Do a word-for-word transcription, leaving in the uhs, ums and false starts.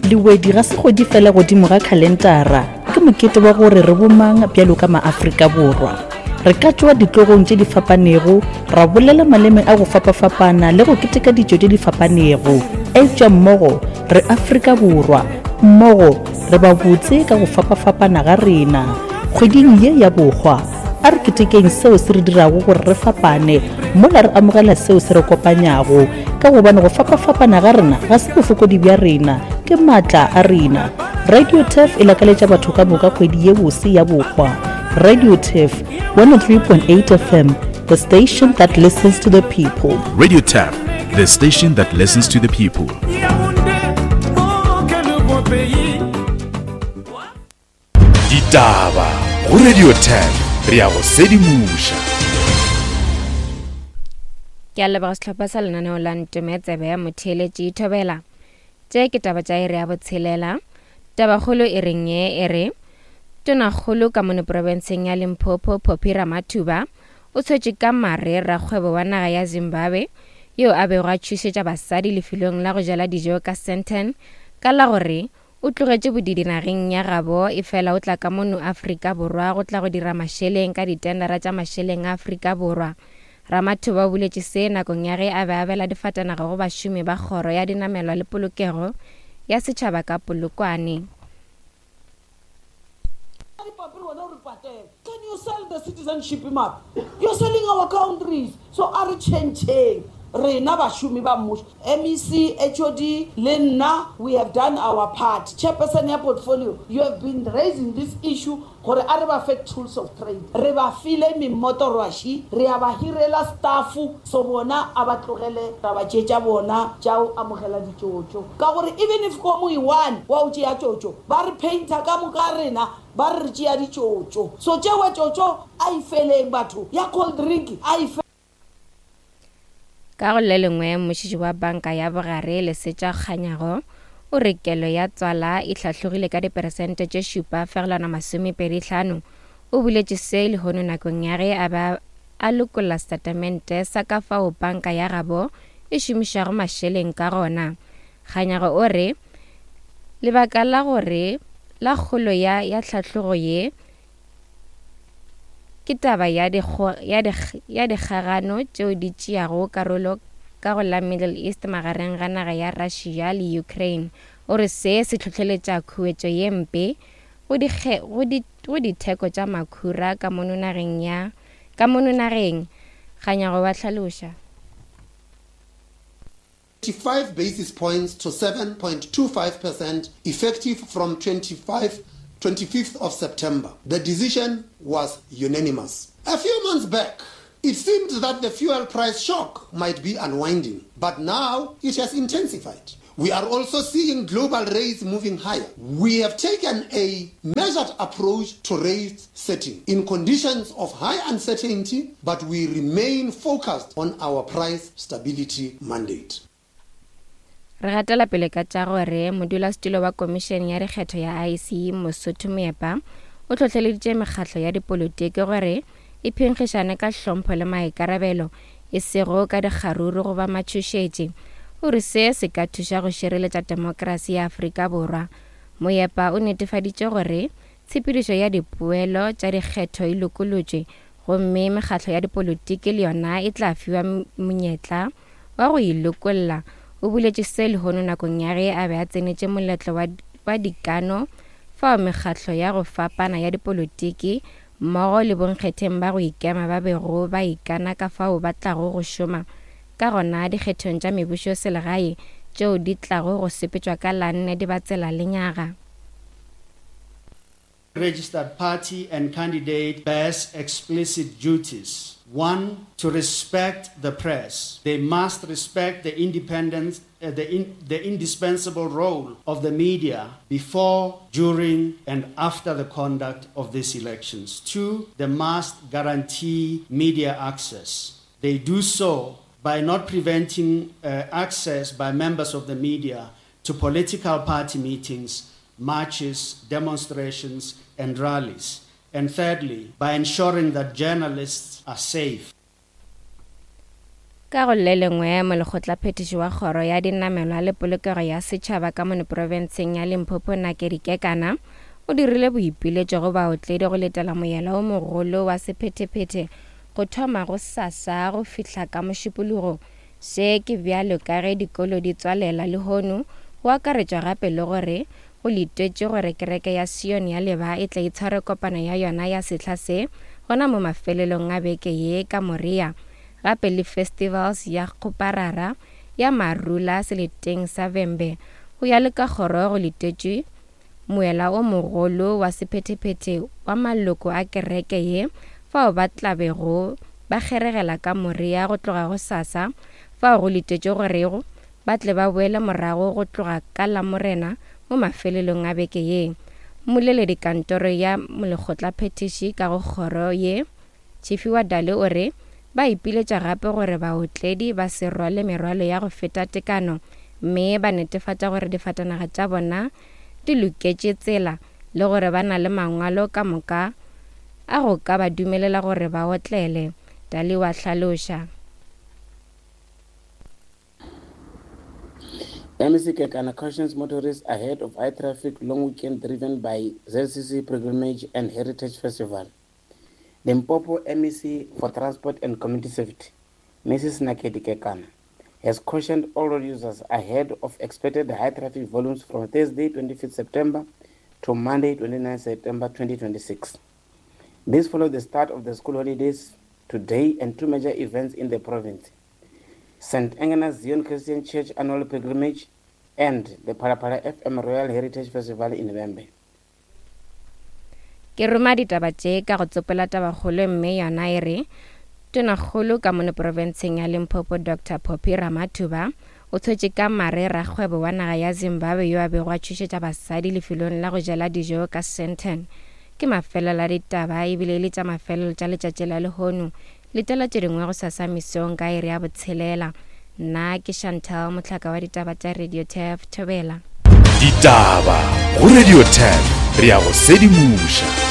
Lewedi ga se kgwedi fela godimo ga khalentara, ke mokete wa gore re bomang bjalo ka maAfrika Borwa. Re ka tšwa ditlogong tše di fapanego, ra bolela maleme a go fapafapana le go keteka ditšo tše di fapanego, eupša mmogo re Afrika Borwa, mmogo re ba botse ka go fapafapana ga rena. Kgweding ye ya bohwa, a re ketekeng seo se re dirago gore re fapane mola re amogela seo se re kopanyago, ka gobane go fapafapana ga rena ga se bofokodi bja rena, ke maatla a rena. Radio Turf e lakaletša batho ka moka kgwedi ye bose ya bohwa. Radio Turf one oh three point eight F M, the station that listens to the people. Radio Turf, the station that listens to the people. Ditaba go Radio Turf, re ya go sedimoša. Ke a leboga sehlopha sa lenaneo la Ntome Tsebe ya Motheeletši Thobela. Tše ke taba tša iri ya botshelela. Tabakgolo e reng ye e re Tonakgolo ka mono profenseng ya Limpopo Phophi Ramathuba o tshwetše ka mare rakgwebo wa naga ya Zimbabwe yo a bego a tšhošetša basadi lefelong la go jela dijo ka Sandton ka la gore o tlogetše bodidi nageng ya gabo e fela o tla ka mono Afrika Borwa go tla go dira mašeleng ka ditendera tša mašeleng a Afrika Borwa. Ramathuba o boletše se nakong ya ge a be a abela difatanaga go bašomi ba kgoro ya dinamelwa le polokego ya setšhaba ka Polokwane. Can you sell the citizenship map? You're selling our countries. So are changing. Rena bašomi ba mmušo, M E C, H O D, le nna, we have done our part. Chairperson ya portfolio, you have been raising this issue gore a re ba fe tools of trade. Re ba file mimotorwaši, re a ba hirela staff, so bona a ba tlogele taba tše tša bona tša go amogela ditšotšo. Ka gore even if ko mo one wa o tšea tšotšo, ba re painter ka moka rena, ba re re tšea ditšotšo. So tšewe tšotšo a e feleng batho, ya cold drink a e Ka go le lengwe, mmušiši wa banka ya bogare Lesetša Kganyago o re kelo ya tswala e hlahlogile ka diperesente tše šupa fegelwana masomepedi hlano. O boletše se lehono nakong ya ge a ba a lokolla setatamente sa ka fao banka ya gabo e šomišago mašeleng ka gona. Kganyago o re lebaka la gore la kgolo ya ya tlhahlogo ye ke taba ya dikgo, ya dikg, ya dikgagano tšeo di tšeago karolo ka go la Middle East magareng ga naga ya Russia le Ukraine. O re se se hlohleletša khuetšo ye mpe go dikge, go di, go ditheko tša makhura ka mono nageng ya, ka mono nageng. Kganyago wa hlaloša. Five basis points to seven point two five percent effective from twenty-five, twenty-fifth of September. The decision was unanimous. A few months back, it seemed that the fuel price shock might be unwinding, but now it has intensified. We are also seeing global rates moving higher. We have taken a measured approach to rate setting in conditions of high uncertainty, but we remain focused on our price stability mandate. Re gatela pele ka tša gore modulasetulo wa komišene ya dikgetho ya I C Mosotho Moepa o hlohleleditše mekgatlo ya dipolotiki gore e phenkgišane ka hlompho le maikarabelo e sego ka dikgaruru goba matšhošetši. O re se se ka thuša go šireletša demokrasi ya Afrika Borwa. Moepa o netefaditše gore tshepedišo ya dipoelo tša dikgetho e lokolotšwe gomme mekgatlo ya dipolotiki le yona e tla fiwa monyetla wa go e lokolla. O boletše se lehono nakong ya ge a be a tsenetše moletlo wa, wa dikano fao mekgatlo ya go fapana ya dipolotiki mmogo le bonkgetheng ba go ikema ba bego ba ikana ka fao ba tlago go šoma ka gona dikgethong tša mebušo selegae tšeo di tlago go sepetšwa ka la nne Dibatsela lenyaga. Registered party and candidate bears explicit duties. One, to respect the press. They must respect the independence, uh, the, in, the indispensable role of the media before, during, and after the conduct of these elections. Two, they must guarantee media access. They do so by not preventing, uh, access by members of the media to political party meetings, marches, demonstrations, and rallies. And thirdly, by ensuring that journalists are safe. Ka go le lengwe, molekgotlaphethiši wa kgoro ya dinamelwa le polokego ya setšhaba ka mono profenseng ya Limpopo Nakedi Kekana o dirile boipiletšo go baotledi go letela moela o mogolo wa sephethephethe go thoma go sasa go fihla ka Mošupologo. Se ke bjalo ka ge dikolo di tswalela lehono, go akaretšwa gape le gore go letetšwe gore kereke ya Sion ya Leba e tla itshware kopano ya yona ya sehla se gona mo mafelelong a beke ye ka Moria, gape le festivals ya kgoparara ya Marula seleteng sa Vhembe. Go ya le ka kgoro go letetšwe moela o mogolo wa sephethephethe wa maloko a kereke ye fao ba tlabego ba kgeregela ka Moria go tloga go sasa, fao go letetšwe gore ba tle ba boele morago go tloga ka Lamorena mo mafelelong a beke ye. Mmoleledi kantoro ya molekgotlaphethiši ka go kgoro ye Tšhifiwa Dale o re ba ipiletša gape gore baotledi ba se rwale merwalo ya go feta tekano mme ba netefatša gore difatanaga tša bona di loketše tsela le gore ba na le mangwalo ka moka a go ka ba dumelela gore ba otlele. Dale wa hlaloša. M E C Kekana cautions motorists ahead of high traffic long weekend driven by Z C C Pilgrimage and Heritage Festival. Limpopo M E C for Transport and Community Safety, Missus Nakedi Kekana, has cautioned all road users ahead of expected high traffic volumes from Thursday twenty-fifth September to Monday twenty-ninth September twenty twenty-six. This followed the start of the school holidays today and two major events in the province: Saint Agnes Zion Christian Church Annual Pilgrimage and the Phalaphala F M Royal Heritage Festival in Vhembe. Ke roma ditaba tše ka go tsopela tabakgolo mme yona e re Tonakgolo ka mono profenseng ya Limpopo Doctor Phophi Ramathuba o tshwetše ka mare rakgwebo wa naga ya Zimbabwe yo a bego a tšhošetša basadi lefelong la go jela dijo ka Sandton. Ke mafelelo a ditaba ebile e le tša mafelelo tša letšatši la lehono. Letela tše dingwe go sasa mesong ka iri ya botshelela. Nna ke Chantal Mohlaka wa ditaba tša Radio Turf Thobela. Ditaba go Radio Turf, re ya go sedimoša.